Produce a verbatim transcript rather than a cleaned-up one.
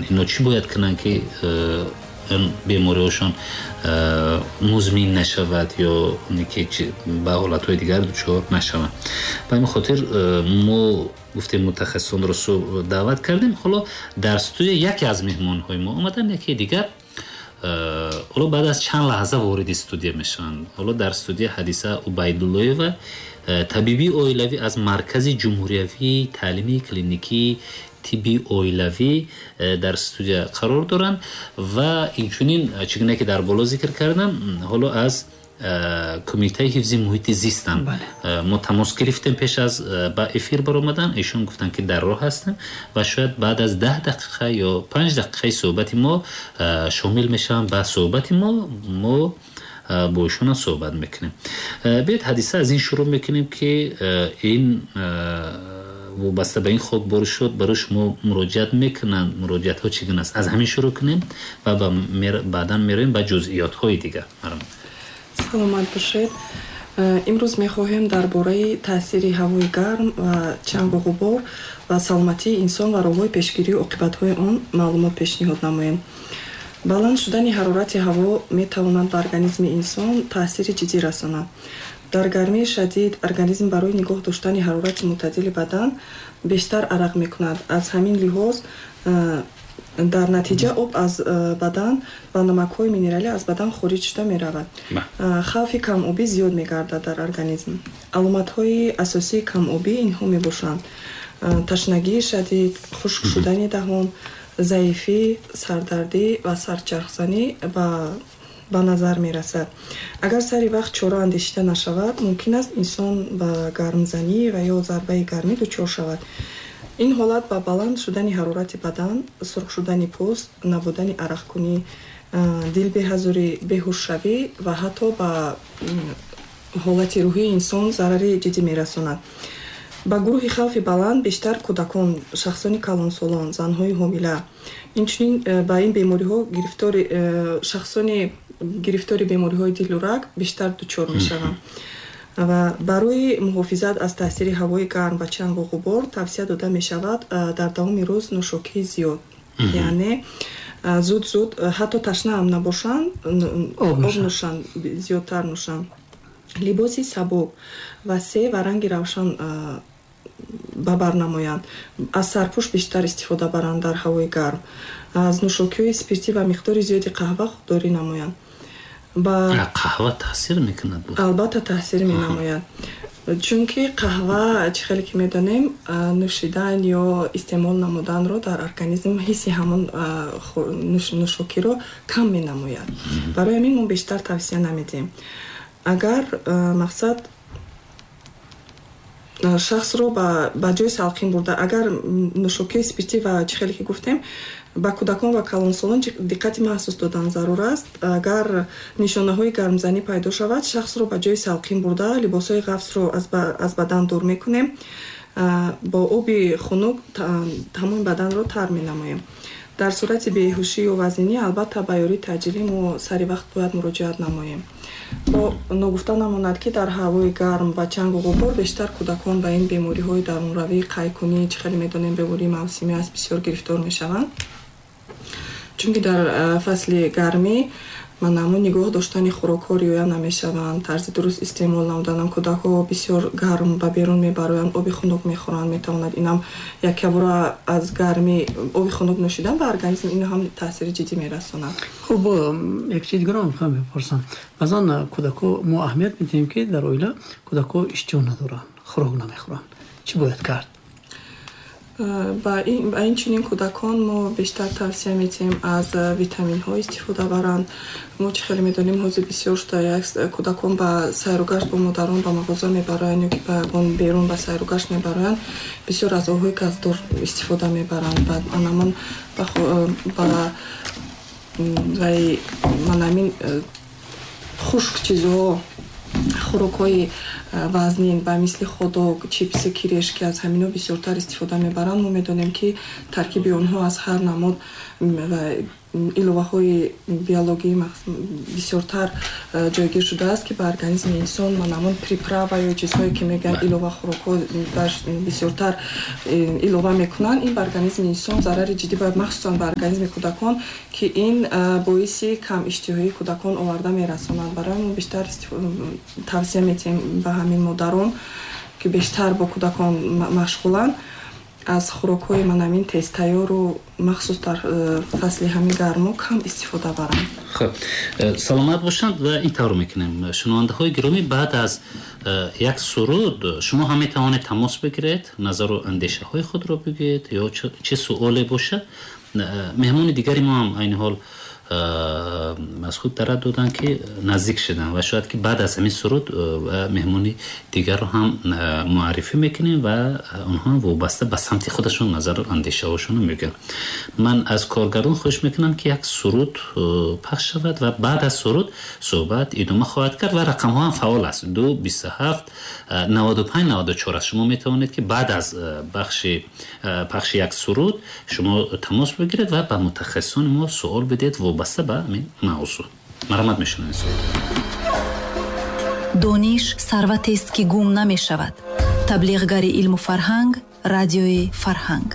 Инҳо чӣ бояд кунанд, ки бемориҳошон музмин нашавад ё ки ба ҳолатҳои дигар дучор нашаванд. Ба ҳамин хотир мо гуфтем, мутахассисонро даъват кардем. Ҳоло дар студия яке аз меҳмонҳои мо омаданд, яке дигар ҳоло баъд аз чанд лаҳза вориди студия мешаванд. Ҳоло дар студия Ҳадиса Убайдуллоева, табиби оилавӣ аз Маркази ҷумҳуриявии таълимии клиникии тибби оилавӣ дар студия қарор доранд ва инчунин, чӣ гуна ки дар боло зикр кардам, ҳоло аз Кумитаи ҳифзи муҳити зистам мо тамос гирифтем пеш аз ба эфир баромадан. Эшон гуфтанд, ки дар роҳ ҳастем ва шояд баъд аз даҳ дақиқа ё панҷ дақиқаи суҳбати мо шомил мешаванд ба суҳбати мо. Мо бо эшонам суҳбат мекунем. Биёед, Ҳадиса, аз ин шурӯъ мекунем, ки ин вобаста ба ин хокборӣ шуд, барои шумо муроҷиат мекунанд, муроҷиатҳо чӣ гуна аст? Аз ҳамин шурӯъ кунем ва баъдан меравем ба ҷузъиётҳои дигар. Саломат бошед. Имрӯз мехоҳем дар бораи таъсири ҳавои гарм ва чангу ғубор ва саломатии инсон ва роҳҳои пешгирии оқибатҳои он маълумот пешниҳод намоем. Баланд шудани ҳарорати ҳаво метавонад ба организми инсон таъсири ҷиддӣ расонад. Дар гармии шадид организм барои нигоҳ доштани ҳарорати мӯътадили бадан бештар арақ мекунад. Аз ҳамин лиҳоз, дар натиҷа об аз бадан ва намакҳои минералӣ аз бадан хориҷ шуда меравад. Хавфи камобӣ зиёд мегардад дар организм. Аломатҳои асосии камобӣ инҳо мебошанд: ташнагии шадид, хушк шудани даҳон, заифӣ, сардардӣ ва сарчархзанӣ ба ба назар мерасад. Агар сари вақт чора андешида нашавад, мумкин аст инсон ба гармзанӣ ва ё зарбаи гармӣ дучор шавад. Ин ҳолат ба баланд шудани ҳарорати бадан, сурх шудани пӯст, набудани арақкунӣ, дилбеҳазурӣ, беҳушшавӣ ва ҳатто ба ҳолати рӯҳии инсон зарари ҷиддӣ мерасонад. Ба гурӯҳи хавфи баланд бештар кӯдакон, шахсони калонсолон, занҳои ҳомила, инчунин ба ин бемориҳо гирифтори шахсони гирифтори бемориҳои дилу раг бештар дучор мешаванд. Ва барои муҳофизат аз таъсири ҳавои гарм ва чангу ғубор тавсия дода мешавад дар давоми рӯз нӯшокии зиёд, яъне зуд-зуд, ҳатто ташна ҳам набошанд, об нӯшанд, зиёдтар нӯшанд. Либоси сабук ва се ва ранги равшан ба бар намоянд. Аз сарпӯш бештар истифода баранд дар ҳавои гарм. Аз нӯшокиҳои спиртӣ ва миқдори зиёди қаҳва худдорӣ намоянд. Қаҳва таъсир мекунад? Албатта, таъсир менамояд, чунки қаҳва, чӣ хеле ки медонем, нӯшидан ё истеъмол намуданро дар организм ҳисси ҳамон нӯшокиро кам менамояд. Барои ҳамин мо бештар тавсия намедиҳем. Агар мақсад шахсро ба ҷои салқин бурда, агар нӯшокии спиртӣ ва чӣ хеле ки гуфтем, ба кӯдакон ва калонсолон диққати махсус додан зарур аст. Агар нишонаҳои гармзанӣ пайдо шавад, шахсро ба ҷои салқин бурда, либосҳои ғафсро аз бадан дур мекунем, бо оби хунук тамоми баданро тар менамоем. Дар сурати беҳушӣ ё вазнинӣ, албатта, ба ёрии таъҷилӣ мо сари вақт бояд муроҷиат намоем. Бо ногуфта намонад, ки дар ҳавои гарм ва чангу ғубор бештар кӯдакон ба ин бемориҳои дарунравӣ, қайкунӣ, чӣ хеле медонем, бемории мавсимӣ аст, бисёр гирифтор мешаванд, чунки дар фасли гармӣ манамун нигоҳ доштани хӯрокҳо риоя намешаванд, тарзи дуруст истеъмол намуданам. Кӯдакҳо бисёр гарм ба берун мебароянд, оби хунук мехӯранд. Метавонад инам якябора аз гармӣ оби хунук нӯшидан ба организм ин ҳам таъсири ҷиддӣ мерасонад. Хуб, як чиз дигарро мехоҳам бипурсам. Баъзан кӯдакҳо, мо аҳамият медиҳем, ки дар оила кӯдакҳо иштиҳо надоранд, хӯрок намехӯранд. Чӣ бояд кард? Ба ин чунин кӯдакон мо бештар тавсия медиҳем аз витаминҳо истифода баранд. Мо чӣ хеле медонем, ҳозир бисёр шуда як кӯдакон ба сайругашт бо модарон ба мағоза мебароянд ё ки ба ягон берун ба сайругашт мебароянд, бисёр аз обҳои газдор истифода мебаранд. Баъд анамон ба манамин хушк чизҳо, хӯрокҳои вазнин ба мисли ходок, чипси, кирешки, аз ҳамино бисёртар истифода мебаранд. Мо медонем, ки таркиби онҳо аз ҳар намуд Иловаҳои биологӣ бисёртар ҷойгир шудааст, ки ба организми инсон манамун приправа ё чизҳое ки мегӯянд, илова хӯрокҳо бисёртар илова мекунанд, ин ба организми инсон зарари ҷиддӣ, махсусан ба организми кӯдакон, ки ин боиси камиштиҳоии кӯдакон оварда мерасонад. Барои мо бештар тавсия метиҳем ба ҳамин модарон, ки бештар бо кӯдакон машғуланд, аз хӯрокҳои манамин тезтайёру махсус дар э, фасли ҳамин гармо кам истифода баранд. Хуб, э, саломат бошанд. Ва ин тавр мекунем, шунавандаҳои гиромӣ, баъд аз э, як суруд шумо ҳам метавонед тамос бигиред, назару андешаҳои худро бигӯед ё чӣ суоле бошад. Меҳмони дигари мо ҳам айни ҳол аз худ дарат доданд, ки наздик шуданд, ва шояд ки баъд аз ҳамин суруд меҳмони дигарро ҳам муаррифӣ мекунем ва онҳо ҳам вобаста ба самти худашон назару андешаҳошонро мегӯянд. Ман аз коргардон хоҳиш мекунам, ки як суруд пахш шавад ва баъд аз суруд суҳбат идома хоҳад кард. Ва рақамҳо ҳам фаъол аст: ду бисту ҳафт наваду панҷ наваду чор аст. Шумо метавонед, ки баъд аз бахши пахши як суруд шумо тамос бигиред ва ба мутахассисони мо суол бидиҳед вобаста ба ҳамин мавзӯъ. Марҳамат, мешунавем суруд. Дониш сарватест, ки гум намешавад. Таблиғгари илму фарҳанг, Радиои Фарҳанг.